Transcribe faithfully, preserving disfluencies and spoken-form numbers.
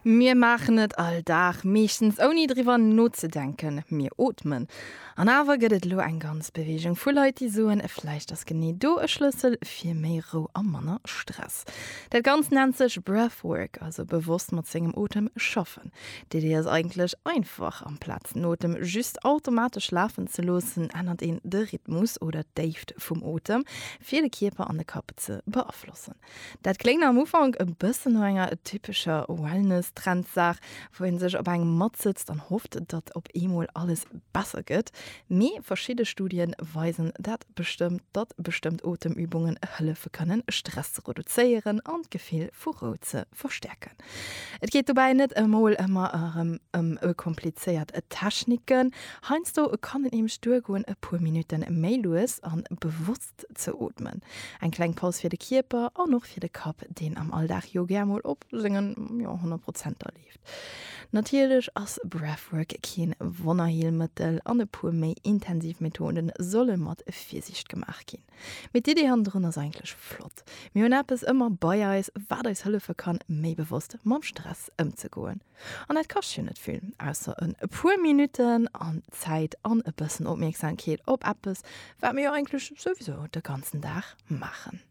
Mir maachen et all Dag, meeschtens ouni driwwer nozedenken, mir ootmen. An awer gëtt et elo eng ganz Beweegung vu Leit, déi soen, vläicht ass genee do e Schlëssel fir méi Rou a manner Stress. Dat Ganzt nennt sech Breathwork, also bewosst mat sengem Otem schaffen. D'Idee ass eigentlech einfach, Amplaz den Otem just automatesch lafen ze loossen, ännert een de Rhythmus oder d'Déift vum Otem, fir de Kierper an de Kapp ze beaflossen. Dat kléngt am Ufank e bëssen no enger typescher Wellness-Trendsaach, wou een sech op eng Matt sëtzt an hofft, datt op eemol alles besser gëtt. Mee verschidde Studien weisen dat bestëmmt, datt bestëmmt Otemübungen hëllefe kënnen, Stress ze reduzéieren an d'Gefill vu Rou ze verstäerken. Et geet dobäi net emol ëmmer erëm ëm komplizéiert Techniken. Heiansdo kann et nämlech duergoen, e puer Minutte méi lues an bewosst ze ootmen. Eng kleng Paus fir de Kierper an och fir de Kapp, deen am Alldag jo gär mol op sengen, jo, honnert Prozenter leeft. Natierlech ass Breathwork keen Wonnerheelmëttel an e puer méi intensiv Methoden solle mat Virsiicht gemaach ginn. Mee d'Idee hannendrun ass eigentlech flott. Mir hunn eppes ëmmer bei eis, wat eis hëllefe kann, méi bewosst mam Stress ëmzegoen. An dat kascht jo net vill, ausser e puer Minutten an Zäit an e bëssen Opmierksamkeet op eppes, wat mir jo eigentlech souwisou de ganzen Dag maachen.